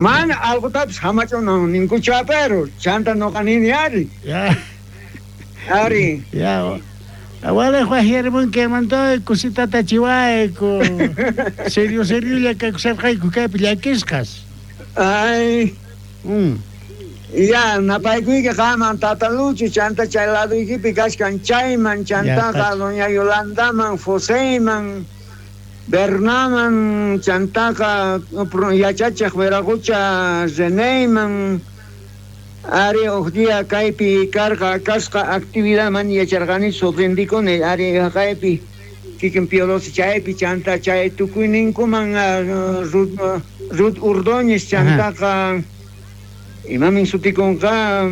Mana alqotapis hamach'unan ninkuchu pero chanta noqa nini ari. Ya. Ari. Ya. Walej wajyarimunki hermantoy, kusitata chiwayku. Serio seriolla kakusharqayku kaypi llakisqas. Ay. Ya, napaykuyki qaman Tata Lucho, chanta chay laduykipi kashkan chayman, chantaqa doña Yolandaman, Joseyman, Bernaman, chantaqa yachachej Veragocha Reneyman, ari uj día kaypi karqa kasqa actividadman yacharqanichu rindikuni ari kaypi kikin Pío XII chaypi chanta chay tukuyninkuman Ruth Ordóñez chantaqa imamin sutikunqa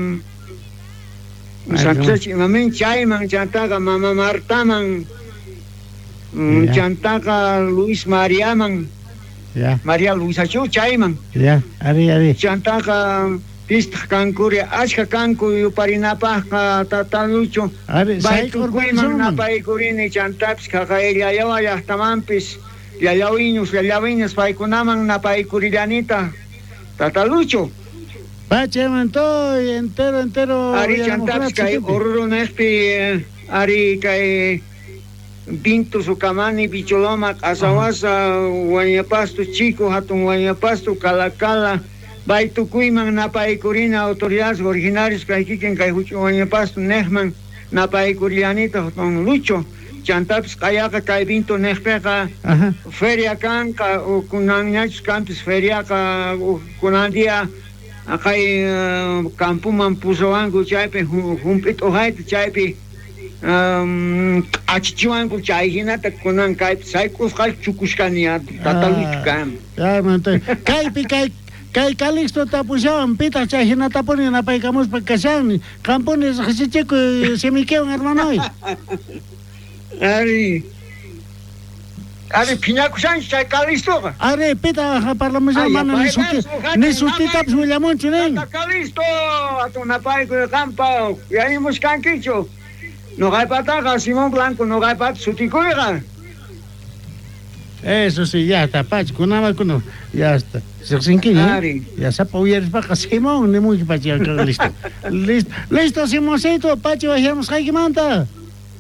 Santos imamin chayman chantaqa mama Martaman chantaqa Luis Mariaman María Luisachu chayman Ya, ari, ari. Chantaqa pistaq kankuri ashka kanku yuparinapaqqa Tata Lucho Ari, tukuyman napaykurini chantapis qaqay llallawa llaqtamanpis llallawiñus llallawiñas paykunaman napaykurillanita Tata Lucho. Pachamantoy, entero, entero. Ari chantapis kay Oruro neqpi ari kay Vinto Sucamani, Bicholoma, Q'asawasa, Huañapasto, Chico, Hatun Huañapasto, Calacala, Baytukuyman napaykurina autoridades originarios kay kikin kay huch'uy Huañapasto neqman napaykurillanita don Lucho. Chantapis q'ayaqa kay Vinto neqpiqa feria kanqa kunanñachus kanpis feriaqa kunan día kay campoman pusawanku chaypi hump'i t'uqayta chaypi achichiwanku chay hinata kunan kaypi sayk'usqa chukushkani Tata Lucho kan. Kaypi kay kay Calixto tapushawan pitaq chay hinatapuni napaykamuspa kashan qampuni riqsichikuy simikiwan hermanoy. Ari Ari phiñakushanchu chay Calixtoqa. Ari pitaq parlamushan mana ni suti ni sutitapis willamunchu nin. Tata Calixto hatun napaykuy qampa uyarimushkankichu. Noqaypataqa Simón Blanco noqaypata sutikuyqa. Eso sí, ya está, pachi, kunama kuna, ya está. Riqsinkiña. Ya sapa uyarispaqa Simón nimunki pachi, listo. Listo, listo Simoncito, pachi wajyamusqaykimanta.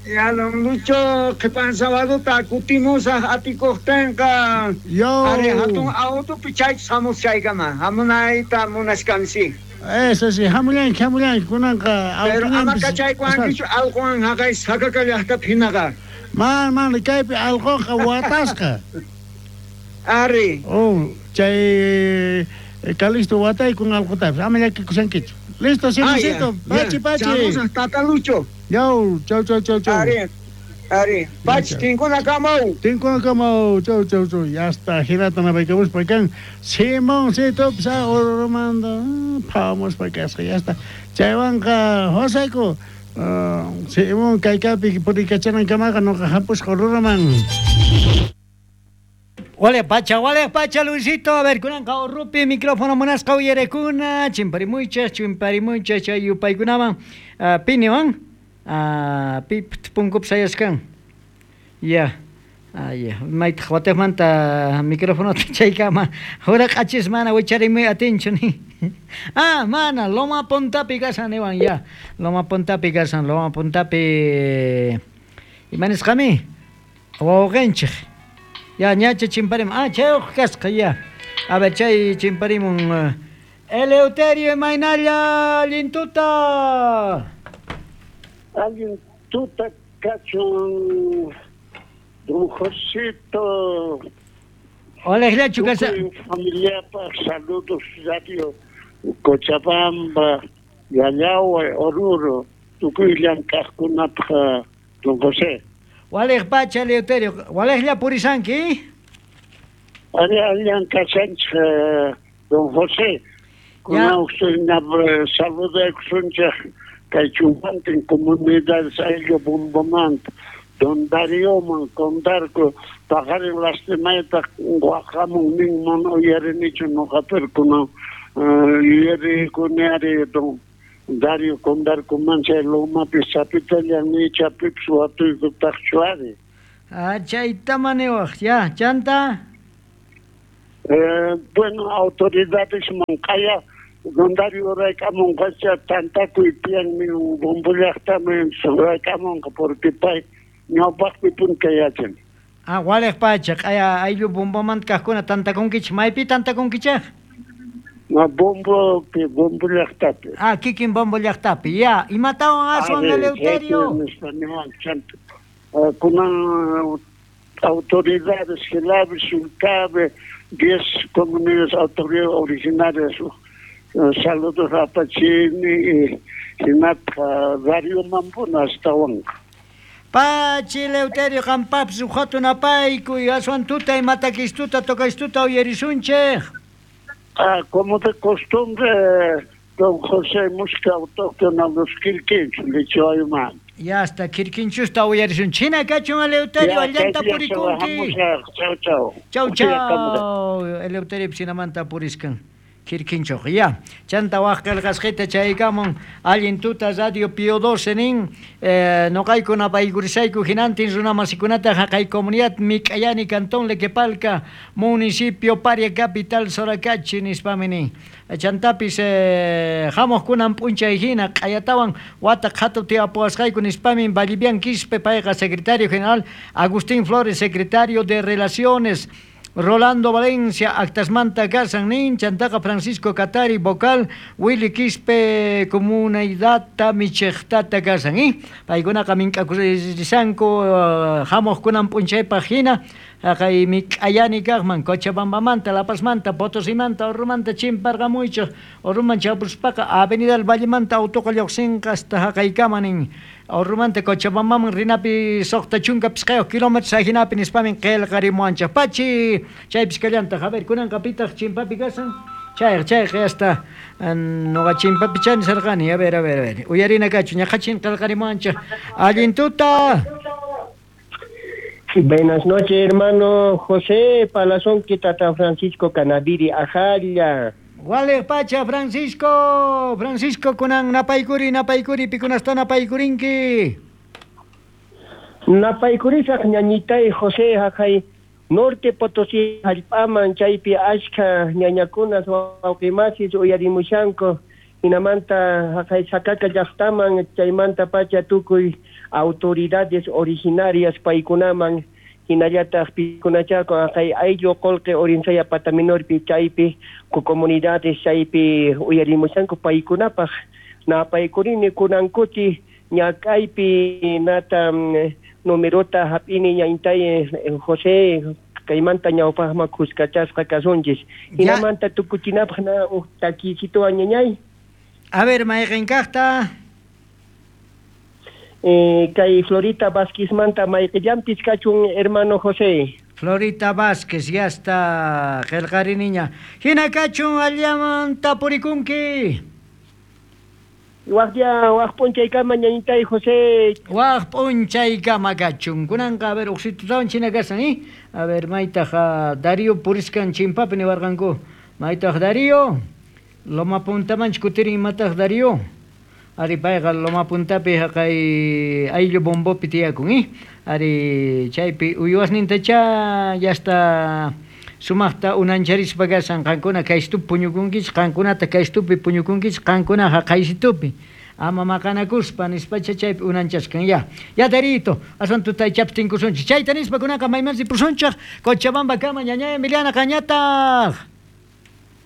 Ya don Lucho, qhipan sabaduta kutimusaq atikuqtinqa. Yo. Ari hatun autopi chaychus hamus chaykama, hamunayta munashkansi. Eso sí, hamullanki, hamullanki, kunanqa Pero ama kachaykuwankichu alquwan haqay sakaka llaqtapi hinaqa. Man, man, kaypi alquqa watasqa. Ari. Oh, chay Calixto wataykun alqutapis, ama llakikushankichu. Listo, Simoncito, pachi, pachi. Chamusaq Tata Lucho. Yaw, chau, chau, chau, chau. Ari, ari. Pachi, tinkuna kamaw. Tinkuna kamaw, chau, chau, chau. Ya está, hinata napaykamuspa kan. Simoncito, pisa Orurumanta, phawamuspa kasqa, ya está. Chaywanqa, Josayku, Simón kaykapi purikachanankamaqa noqa hampusqa Oruruman. Wale pacha, Luisito. A ver, kunanqa Urrupi micrófono munasqa uyarekuna, chimparimuychas, chimparimuychas chay yupaykunaman. Piniwan, pi punkup sayaskan. Ya. Ya. Maytaq watejmanta micrófonota chaykama. Huraq'achis mana wicharimuy atinchu ni. Ah, mana, Loma Puntapi kashan niwan ya. Loma Puntapi kashan, Loma Puntapi. Imanisqami? Wawqinchik. Ya, ñacha chimparim. Ah, chay uq kasqa ya. A ver, chay chimparimun. Eleuterio imaynalla allintuta. Allintuta kachun don Josito. Olejllachu kasa. Familiapaq saludos radio Cochabamba, Llallawa, Oruro, tukuy llank'aqkunapaq don José. Walej pacha, Eleuterio. Walejlla purisanki? Ari allan kashanchik don José. Kunan saludaykusunchik kay chumpantin comunidades ayllu Bombomanta, don Darioman, Condarco, paqarin lastimayta waqamun nin mana uyarinichu noqapir kunan yuyarikuni ari don Dario Condarcoman chay lomapi sapitallan ni chapipis watuykutaqchu ari. Ah, chayta maniwaq, ya, chanta. Bueno, autoridades man q'aya don Dario raykamunqacha tantakuy tiyan Bombo llaqtaman raykamunqa porque pay ñawpaqpi punta yachan. Ah, waliq pacha, q'aya ayllu bombomanta kaqkuna tantakunkichik, maypi tantakunkichik? Bombo Bombo llaqtapi. Ah, kikin Bombo llaqtapi. Ya, imatawan aswan Eleuterio? Kunan autoridades Gelabe, Sulcabe, 10 comunidades autoridades originarias, saludos apachini hinatqa Radio Mampuna astawanqa. Pachi Eleuterio qampapis uq hatun apaykuy, aswan tuta imatakistuta tocaystuta uyarisunchik. Ah, como de costumbre, don José música autóctona los Quirquinchos, Lichoayman. Ya hasta Quirquinchusta uyarisunchik. Hina kachun Eleuterio, allanta purikunki. Chau, chau. Chau, chau. Eleuterio sinamanta puriskan. Quirquinchoq, ya. Chanta waj qillqasqita chaykamun allin tuta Radio Pío 12 nin, noqayku napaykurisayku hinantin runa masikunata haqay comunidad Mik'ayani Cantón Lequepalca, municipio Paria Capital Soracachi nispami nin. Chantapis hamuqkunan p'unchay hina q'ayatawan wata qhatu tiyapuwasqayku nispami Vallivian Quispe payqa secretario general, Agustín Flores secretario de Relaciones, Rolando Valencia, actasmanta kasan nin, chantaqa Francisco Catari, vocal, Willy Quispe, comunidad micheqtata kasan, ¿eh? Paykunaqa mink'akurisanku, hamuqkunan p'unchaypaq hina, haqay mik'ayani kaqman, Cochabambamanta, La Pazmanta, Potosimanta, Orrumanta, chimparqamuychik, Orruman chapuspaqa Avenida del Vallemanta autoqa lluqsinqa hasta haqaykama nin. Orrumanta Cochabambaman rinapi 65 kilómetros ajinapi nispamin qillqarimuwanchik. Pachi, chaypis kallantaq. A ver, kunanqa pitaq chimpapi kasan? Chayqa, chayqa, hasta nuqa chimpapi chani sarqani. A ver, a ver, a ver. Uyarina kachu, ñaqachin qillqarimuwanchik. Allin tuta. Buenas noches, hermano José Palazón, Tata Francisco Canaviri, Ajalla. Waliq pacha, Francisco, Francisco kunan napaykuri, napaykuri, pikunasta napaykurinki. Napaykurisaq ñañitay José haqay Norte Potosí hallp'aman chaypi ashkha ñañakunas wawqimasis uyarimushanku hinamanta haqay Sakaka llaqtaman chaymanta pacha tukuy autoridades originarias paykunaman hinallataq pikunachaku haqay ayllu qullqi Urinsaya Pataminorpi chaypi comunidades chaypi uyarimushanku paykunapaq napaykurini kunankuti ñak'aypi nata numerota hap'ini ñañtay José kaymanta ñawpaqman kuskachasqa kasunchis hinamanta tukuchinapaq na uq takisituwan ñañay. A ver, mayqin kaqta. Kay Florita Vázquezmanta mayqillanpis kachun, hermano José. Florita Vázquez, ya está, qillqariniña. Hina kachun allamanta purikunki. Waqya, waq p'unchaykama ñañitay José. Waq p'unchaykama kachun. Kunanqa, a ver, uqsitutawan china kasan, ¿eh? A ver, maytaq Darío puriskan chimpapi niwarqanku. Maytaq Darío, Loma Puntamanchu kutirin imataq Darío. Ari payqa Loma Puntapi haqay ayllu bombopi tiyakun, ¿eh? Ari chaypi uywasnintacha ya está sumaqta unancharispa kasan qankuna kaystupi puñukunkichik, qankunata kaystupi puñukunkichik, qankuna haqaysitupi. Ama maqanakuspa nispacha chaypi unanchaskan ya. Ya Darito, aswan tutay chaptinkusunchik. Chayta nispa kunanqa maymansi pusunchik, Cochabamba kama ñañay Emiliana qañataq.